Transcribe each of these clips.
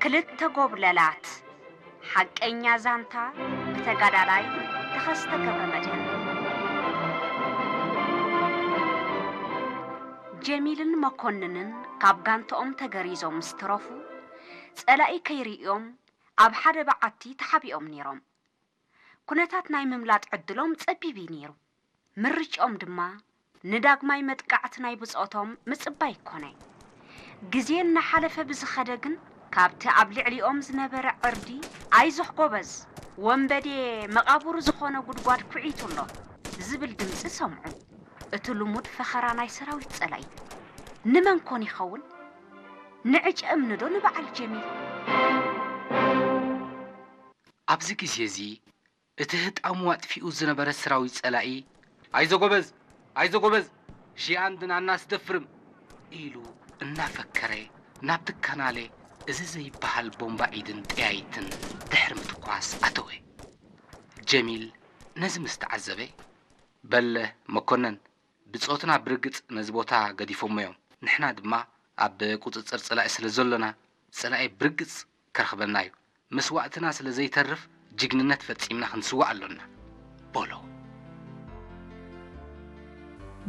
ክልተ ጎብለላት። ሓቀኛ ዛንታ ብተጋዳላይ ተኸስተ ገብረመድህን። ጀሚልን መኮንንን ካብ ጋንታኦም ተገሪዞም ምስ ተረፉ፣ ጸላኢ ከይርእዮም ኣብ ሓደ በዓቲ ተሓቢኦም ነይሮም። ኩነታት ናይ ምምላጥ ዕድሎም ጸቢብ እዩ ነይሩ። ምርጫኦም ድማ ንዳግማይ መጥቃዕቲ ናይ ብጾቶም ምጽባይ ኮነ። ግዜ እናሓለፈ ብዝኸደ ግን፣ ካብቲ ኣብ ልዕሊኦም ዝነበረ ዕርዲ፣ "ኣይዞህ ጎበዝ፣ ወንበዴ መቓብሩ ዝኾነ ጉድጓድ ኩዒቱ ኣሎ" ዝብል ድምጺ ሰምዑ። እቲ ልሙድ ፈኸራ ናይ ሰራዊት ጸላኢ ንመን ኮን ይኸውን? ንዕጨ እምኒ ዶ ንበዓል ጀሚል? ኣብዚ ግዜ እዚ፣ እቲ ህጣሙ ኣጥፊኡ ዝነበረ ሰራዊት ጸላኢ፣ "ኣይዞ ጎበዝ፣ ኣይዞ ጎበዝ፣ ሺኣን ድናና ስደፍርም" ኢሉ እናፈከረ፣ ናብቲ ካናለ እዚ ዘይበሃል ቦምባ ኢድን ጠያይትን ድሕሪ ምትኳስ ኣተወ። ጀሚል ነዚ ምስ ተዓዘበ፣ "በለ መኮነን፣ ብጾትና ብርግጽ ነዚ ቦታ ገዲፎሞ እዮም። ንሕና ድማ ኣብ ቁጽጽር ጸላኢ ስለ ዘሎና፣ ጸላኢ ብርግጽ ከርኽበና እዩ። መስዋእትና ስለ ዘይተርፍ፣ ጅግንነት ፈጺምና ክንስዋእ ኣሎና" በሎ።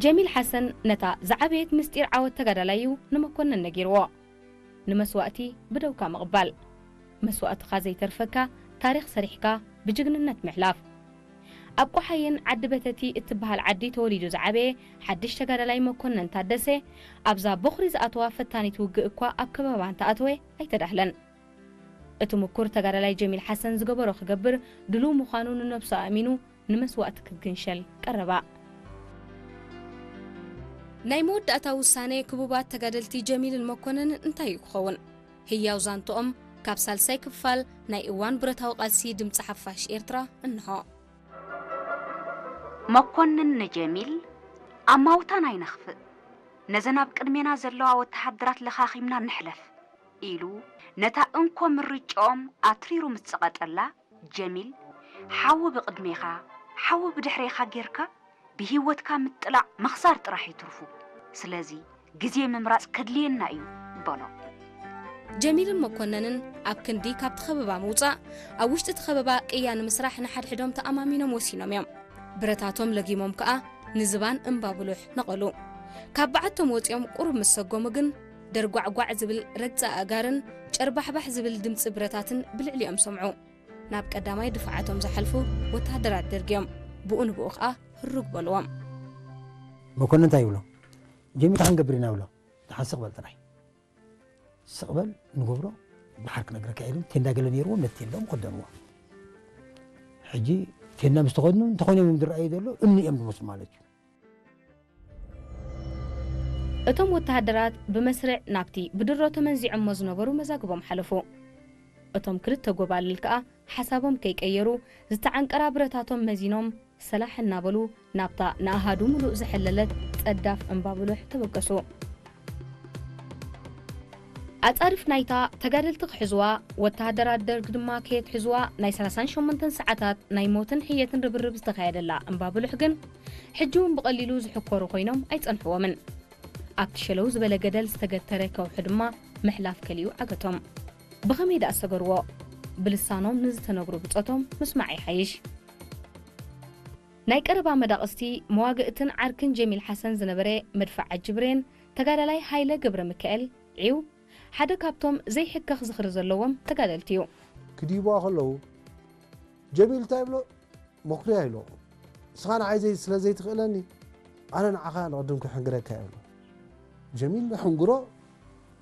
ጀሚል ሓሰን ነታ ዝዓበየት ምስጢር ዓወት ተጋዳላይ እዩ ንመኮንን ነጊርዎ። ንመስዋእቲ ብደውካ ምቕባል፣ መስዋእትኻ ዘይተርፈካ ታሪኽ ሰሪሕካ ብጅግንነት ምሕላፍ። ኣብ ቆሓይን ዓዲ በተቲ እትበሃል ዓዲ ተወሊዱ ዝዓበየ ሓድሽ ተጋዳላይ መኮንን ታደሰ፣ ኣብዛ ቦኽሪ ዝኣተዋ ፈታኒት ውግእ እኳ ኣብ ከበባ እንተኣተወ ኣይተዳህለን። እቲ ምኩር ተጋዳላይ ጀሚል ሓሰን ዝገበሮ ክገብር ድሉው ምዃኑ ንነብሱ ኣእሚኑ ንመስዋእቲ ክግንሸል ቀረባ። ናይ መወዳእታ ውሳነ ክቡባት ተጋደልቲ ጀሚልን መኮነንን እንታይ እዩ ክኸውን? ህያው ዛንትኦም ካብ ሳልሳይ ክፋል ናይ እዋን ብረታዊ ቃልሲ ድምጺ ሓፋሽ ኤርትራ እንሆ። መኮንን ንጀሚል፣ "ኣማውታን ኣይነኽፍእ፣ ነዘን ኣብ ቅድሜና ዘለዋ ወተሃደራት ለኻኺምና ንሕለፍ" ኢሉ ነታ እንኮ ምርጫኦም ኣትሪሩ ምስ ጸቐጠላ፣ ጀሚል፣ "ሓዊ ብቕድሜኻ፣ ሓዊ ብድሕሬኻ ጌርካ ብህይወትካ ምጥላዕ ምኽሳር ጥራሕ እዩ ትርፉ። ስለዚ ግዜ ምምራጽ ከድልየና እዩ" በሎ። ጀሚልን መኮነንን ኣብ ክንዲ ካብቲ ከበባ ምውጻእ፣ ኣብ ውሽጢ እቲ ከበባ ቅያ ንምስራሕ ንሓድሕዶም ተኣማሚኖም ወሲኖም እዮም። ብረታቶም ለጊሞም ከኣ ንዝባን እምባ ብሉሕ ነቐሉ። ካብ በዓቶም ወጺኦም ቁሩብ ምስ ሰጎሙ ግን፣ ደርጓዕጓዕ ዝብል ረግጻ ኣእጋርን ጨርባሕባሕ ዝብል ድምጺ ብረታትን ብልዕሊኦም ሰምዑ። ናብ ቀዳማይ ድፋዓቶም ዝሓልፉ ወተሃደራት ደርግ እዮም። ብኡ ንብኡ ከኣ ህሩግ በልዎም። መኮንን እንታይ ይብሎ? "ጀሚል፣ እንታይ ክንገብር ኢና?" ይብሎ። "ደሓን ስቕ በል ጥራይ። ስቕ በል፣ ንገብሮ፣ ደሓር ክነግረካ" ኢሉ ቴንዳ ገለ ነይርዎም፣ ነቲ ቴንዳኦም ከደንዎ። ሕጂ ቴንዳ ምስ ተኸድኑ፣ እንተኾይኖም እዮም ዝረኣዩ ዘሎ፣ እምኒ እዮም ዝመስሉ ማለት እዩ። እቶም ወተሃደራት ብመስርዕ ናብቲ ብድሮ ተመንዚዖሞ ዝነበሩ መዛግቦም ሓለፉ። እቶም ክልተ ጎባልል ከኣ ሓሳቦም ከይቀየሩ፣ ዝተዓንቀራ ብረታቶም መዚኖም ሰላሕ እናበሉ ናብታ ንኣሃዱ ምሉእ ዝሐለለት ጸዳፍ እምባ ብሉሕ ተበገሱ። ኣጻድፍ ናይታ ተጋደልቲ ክሕዝዋ፣ ወተሃደራት ደርግ ድማ ከየትሕዝዋ ናይ ሰላሳን ሸሞንተን ሰዓታት ናይ ሞትን ሕየትን ርብርብ ዝተኻየደላ እምባ ብሉሕ ግን፣ ሕጂ እውን ብቐሊሉ ዝሕኮሩ ኮይኖም ኣይጸንሕዎምን። ኣብቲ ሸለው ዝበለ ገደል ዝተገተረ ከውሒ ድማ ምሕላፍ ከሊኡ ዓገቶም። ብኸመይ ደኣ ሰገርዎ? ብልሳኖም ንዝተነግሩ ብጾቶም ምስማዕ ይሓይሽ። ናይ ቀረባ መዳቕስቲ መዋግእትን ዓርክን ጀሚል ሓሰን ዝነበረ መድፍዓ ጅብሬን ተጋዳላይ ሃይለ ገብረ ሚካኤል ዒው ሓደ ካብቶም ዘይሕከኽ ዝኽሪ ዘለዎም ተጋደልቲ እዩ። ክድይብዋ ከለዉ ጀሚል እንታይ ይብሎ? መኩርያ ኢሎ። ንስኻ ንዓይ ዘይ ስለ ዘይትኽእለኒ ኣነ ንዓኻ ንቕድም ክሕንግረካ እየ ብሎ። ጀሚል ንሕንግሮ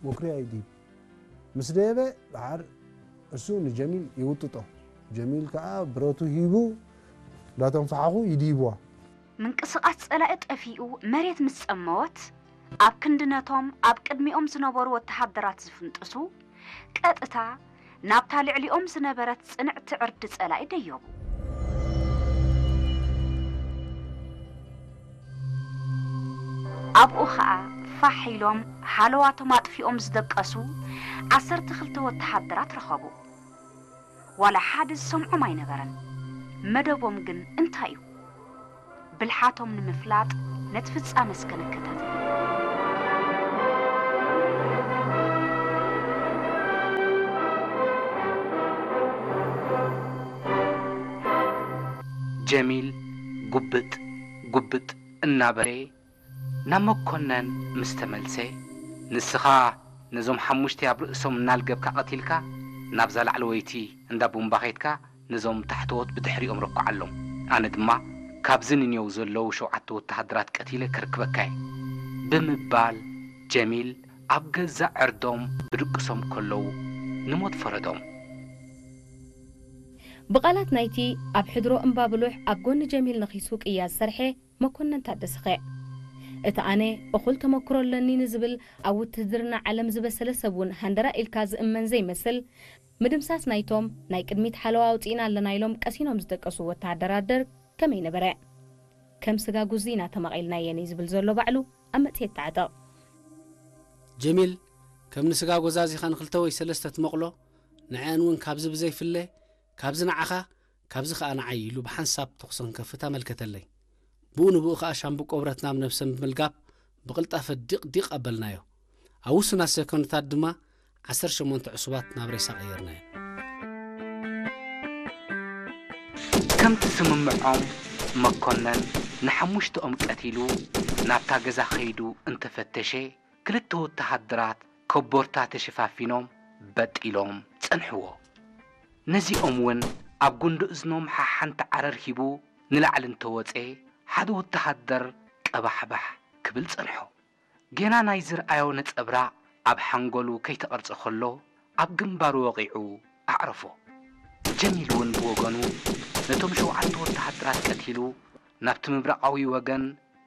መኩርያ ይድይብ። ምስ ደየበ ደሓር እሱ ንጀሚል ይውጥጦ። ጀሚል ከኣ ብረቱ ሂቡ እንዳተንፈሓኹ ይድይብዋ። ምንቅስቓስ ጸላኢ ጠፊኡ መሬት ምስ ጸመወት፣ ኣብ ክንዲ ነቶም ኣብ ቅድሚኦም ዝነበሩ ወተሃደራት ዝፍንጥሱ፣ ቀጥታ ናብታ ልዕሊኦም ዝነበረት ጽንዕቲ ዕርዲ ጸላኢ ደየቡ። ኣብኡ ኸኣ ፋሕ ኢሎም ሃለዋቶም ኣጥፊኦም ዝደቀሱ ዓሰርተ ክልተ ወተሃደራት ረኸቡ። ዋላ ሓደ ዝሰምዖም ኣይነበረን። መደቦም ግን እንታይ እዩ? ብልሓቶም ንምፍላጥ ነቲ ፍጻመ እስከ ንከታተሎ። ጀሚል ጉብጥ ጉብጥ እናበለ ናብ መኮነን ምስ ተመልሰ፣ "ንስኻ ነዞም ሓሙሽተ ኣብ ርእሶም እናልገብካ ቀቲልካ፣ ናብዛ ላዕለወይቲ እንዳ ቡምባ ኸይድካ ነዞም ታሕተዎት ብድሕሪኦም ረኩዓሎም። ኣነ ድማ ካብዚ ንኔው ዘለዉ ሸውዓተ ወተሃደራት ቀቲለ ክርክበካ እየ" ብምባል፣ ጀሚል ኣብ ገዛእ ዕርዶም ብድቅሶም ከለዉ ንሞት ፈረዶም። ብቓላት ናይቲ ኣብ ሕድሮ እምባብሉሕ ኣብ ጎኒ ጀሚል ነኺሱ ቅያ ዝሰርሐ መኮነን ታደሰኸ? እቲ ኣነ እኹል ተመክሮ ኣለኒ ንዝብል ኣብ ውትህድርና ዓለም ዝበሰለ ሰብ እውን ሃንደራ ኢልካ ዝእመን ዘይመስል፣ ምድምሳስ ናይቶም ናይ ቅድሚት ሓለዋ ኣውፂእና ኣለና ኢሎም ቀሲኖም ዝደቀሱ ወተሃደራት ደርግ ከመይ ነበረ? ከም ስጋ ጉዚ ኢና ተማቒልናየን እዩ ዝብል ዘሎ ባዕሉ ኣብ መጽሔት ተዓጠቕ። ጀሚል ከም ንስጋ ጎዛዚኻ ንክልተ ወይ ሰለስተ ትመቕሎ፣ ንዐአን እውን ካብዚ ብዘይፍለ፣ ካብዚ ንዓኻ፣ ካብዚ ኸኣ ንዓይ ኢሉ ብሓንሳብ ተኹሲ ክንከፍት ኣመልከተለይ። ብኡ ንብኡ ኸኣ ሻምብቆ ብረት ናብ ነብሰን ብምልጋብ ብቕልጣፈ ዲቕ ዲቕ ኣበልናዮ። ኣብ ውሱናት ሰኮንድታት ድማ ዓሰርተ ሸሞንተ ዕሱባት ናብ ሬሳ ቀየርናየን። ከምቲ ስምምዖም መኮነን ንሓሙሽተኦም ቀቲሉ ናብታ ገዛ ከይዱ እንተፈተሸ፣ ክልተ ወተሃደራት ከቦርታ ተሸፋፊኖም በጥ ኢሎም ጸንሕዎ። ነዚኦም እውን ኣብ ጉንዲ እዝኖም ሓሓንቲ ዓረር ሂቡ ንላዕሊ እንተወጸ፣ ሓደ ወተሃደር ቀባሕባሕ ክብል ጸንሖ። ጌና ናይ ዝርኣዮ ነጸብራቕ ኣብ ሓንጎሉ ከይተቐርጸ ከሎ፣ ኣብ ግንባሩ ወቒዑ ኣዕረፎ። ጀሚል እውን ብወገኑ ነቶም ሸውዓተ ወተሃደራት ቀቲሉ ናብቲ ምብራቓዊ ወገን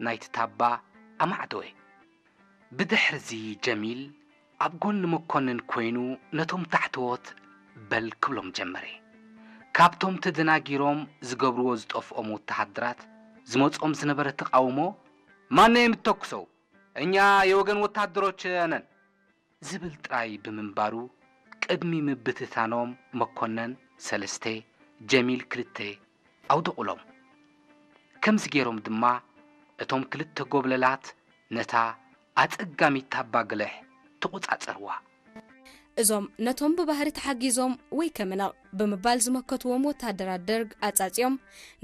ናይቲ ታባ ኣማዕደወ። ብድሕርዚ ጀሚል ኣብ ጎኒ መኮንን ኮይኑ ነቶም ታሕተዎት በል ክብሎም ጀመረ። ካብቶም ተደናጊሮም ዝገብርዎ ዝጠፍኦም ወተሃደራት ዝመጾም ዝነበረ ተቓውሞ፣ "ማነው የምተኩሰው? እኛ የወገን ወታደሮች ነን" ዝብል ጥራይ ብምንባሩ፣ ቅድሚ ምብትታኖም መኮነን ሰለስተ፣ ጀሚል ክልተ ኣውደቑሎም። ከምዚ ገይሮም ድማ እቶም ክልተ ጎብለላት ነታ ኣጸጋሚት ታባ ግልሕ ተቖጻጸርዋ። እዞም ነቶም ብባህሪ ተሓጊዞም ወይ ከመነቕ ብምባል ዝመከትዎም ወተሃደራት ደርግ ኣጻጺኦም፣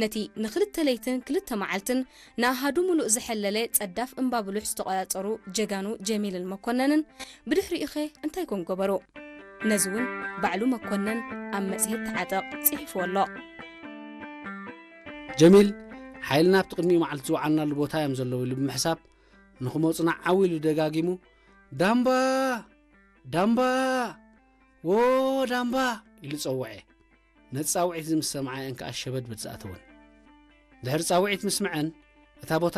ነቲ ንኽልተ ለይትን ክልተ መዓልትን ንኣሃዱ ምሉእ ዝሐለለ ጸዳፍ እምባ ብሉሕ ዝተቖጻጸሩ ጀጋኑ ጀሚልን መኮነንን፣ ብድሕሪኡኸ እንታይ ኮን ገበሩ? ነዚ እውን ባዕሉ መኮነን ኣብ መጽሔት ተዓጠቕ ጽሒፍዎ ኣሎ። ጀሚል፣ ሓይልና ኣብቲ ቅድሚኡ መዓልቲ ዝወዓልናሉ ቦታ እዮም ዘለዉ ኢሉ ብምሕሳብ፣ ንኽመጹና ዓው ኢሉ ደጋጊሙ፣ "ዳምባ! ዳምባ! ዎ ዳምባ!" ኢሉ ጸውዐ። ነቲ ጻውዒት እዚ ምስ ሰምዓ እየን ከኣ ሸበድበድ ዝኣተወን። ድሕሪ ጻውዒት ምስምዐን፣ እታ ቦታ